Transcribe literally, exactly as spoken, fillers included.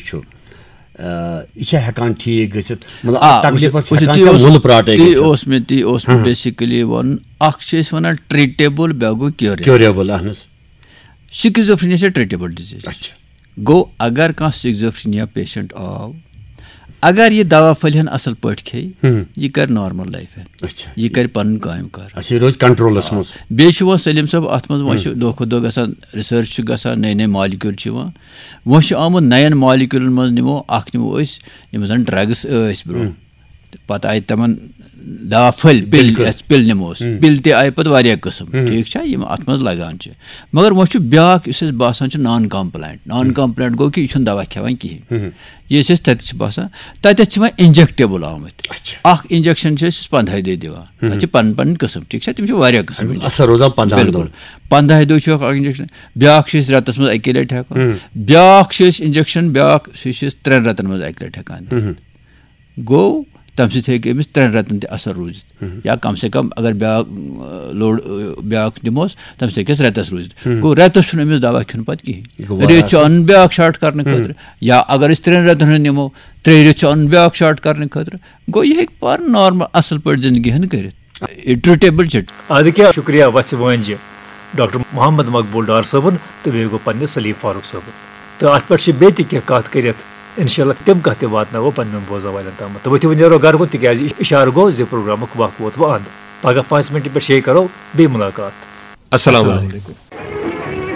چھُ، آ، یہِ چھا ہٮ۪کان ٹھیٖک گٔژھِتھ؟ مطلب، آ، اَتھ تکلیٖفَس وٕچھِو، ہٮ۪کان تی چھا اوس- مُلہٕ پراٹے تی گٔژھِتھ؟ اوس مےٚ تی اوس مےٚ بیسِکٔلی وَنُن، اَکھ چھِ أسۍ وَنان ٹرٛیٖٹیبٕل، بیٛاکھ گوٚو کیوریبٕل. کیوریبٕل، اہن حظ. سِکِزوفرینیا چھِ ٹرٛیٖٹیبٕل ڈِزیٖز. اچھا. گوٚو، اگر کانٛہہ سِکِزوفرینیا پیشنٹ آو، اگر یہِ دوا پھٔلۍ ہن اَصٕل پٲٹھۍ کھیٚیہِ، ہم۔ یہِ کَرِ نارمل لایف. اچھا. یہِ کَرِ پَنُن کامہِ کار. اچھا، یہِ روزِ کنٹرولس منٛز. بیٚیہِ چھُ وۄنۍ سلیٖم صٲب اَتھ منٛز، وۄنۍ چھُ دۄہ کھۄتہٕ دۄہ گژھان، ریسرچ چھُ گژھان، نٔے نٔے مالیکیول چھِ یِوان. وۄنۍ چھُ آمُت نَین مالیکیولن منٛز، نِمو اَکھ نِمو أسۍ یِم زَن ڈرگس ٲسۍ برونٛہہ. تہٕ پَتہٕ آیہِ تِمن دوا پھٔلۍ، پِل، بِلکُل. یَتھ پِل نِمو أسۍ. ہم۔ پِل تہِ آیہِ پَتہٕ واریاہ قٕسم، ہم۔ ٹھیٖک چھا، یِم اَتھ منٛز لگان چھِ. مگر وۄنۍ چھُ بیٛاکھ، یُس اَسہِ باسان چھُ نان کمپلینٹ. نان کمپلینٹ گوٚو کہِ یہِ چھُنہٕ دوا کھٮ۪وان کِہیٖنۍ. ہم۔ یہِ أسۍ اَسہِ تَتہِ چھِ باسان، تَتٮ۪تھ چھِ وۄنۍ انجیکٹیبٕل آمٕتۍ. اچھا. اَکھ انجیکشن چھِ أسۍ پنٛدہاے دۄہہِ دِوان. تَتھ چھِ پَنٕنۍ پَنٕنۍ قٕسم، ٹھیٖک چھا، تِم چھِ واریاہ قٕسم. اثر روزان پنٛدہن بِلکُل. دۄہن. پنٛدہاے دۄہہِ چھُ اَکھ انجیکشن. بیٛاکھ چھِ أسۍ رٮ۪تس منٛز اَکے لٹہِ ہٮ۪کان. ہم۔ بیٛاکھ چھِ أسۍ انجیکشن، بیٛاکھ سُہ چھِ أسۍ ترٛٮ۪ن رٮ۪تن منٛز اَکہِ لٹہِ ہٮ۪کان دِتھ. ہم۔ گوٚو، تَمہِ سۭتۍ ہیٚکہِ أمِس ترٛٮ۪ن رٮ۪تن تہِ اثر روٗزِتھ. یا کم سے کم اگر بیٛاکھ، اۭں، لوڈ، اۭں، بیٛاکھ دِموس، تَمہِ سۭتۍ ہیٚکہِ اَسہِ رٮ۪تس روٗزِتھ. ہم۔ گوٚو، رٮ۪تس چھُنہٕ أمِس دوا کھیوٚن پتہٕ کِہیٖنۍ. یہِ گوٚو واریاہ ریٚتۍ چھُ اَصٕل. اَنُن بیٛاکھ شاٹ کرنہٕ خٲطرٕ. یا اگر أسۍ ترٛٮ۪ن رٮ۪تن ہُنٛد نِمو، ترٛیٚیہِ رٮ۪تۍ چھُ اَنُن بیٛاکھ شاٹ کرنہٕ خٲطرٕ. گوٚو، یہِ ہیٚکہِ پانہٕ نارمل اَصٕل پٲٹھۍ زندگی ہن کٔرِتھ. یہِ ٹرٛیٖٹیبٕل چھِ. اَدٕ کیٛاہ، شُکریہ وَژھِ وٲنجہِ ڈاکٹر محمد مقبول ڈار صٲبُن تہٕ بیٚیہِ گوٚو پنٛنِس سلیٖم فاروق صٲبُن. تہٕ اَتھ پٮ۪ٹھ چھِ بیٚیہِ تہِ کینٛہہ کَتھ کٔرِتھ، اِنشاء اللہ تِم کَتھ تہِ واتناوو پنٛنٮ۪ن بوزَن والٮ۪ن تامَتھ. تہٕ ؤتھِو وۄنۍ نیرو گَرٕ کُن، تِکیٛازِ اِشارٕ گوٚو زِ پروگرامُک وق ووت وۄنۍ اَنٛد۔ پگاہ پانٛژِ مِنٹہِ پٮ۪ٹھ شیٚیہِ کَرو بیٚیہِ مُلاقات۔ السلام علیکم۔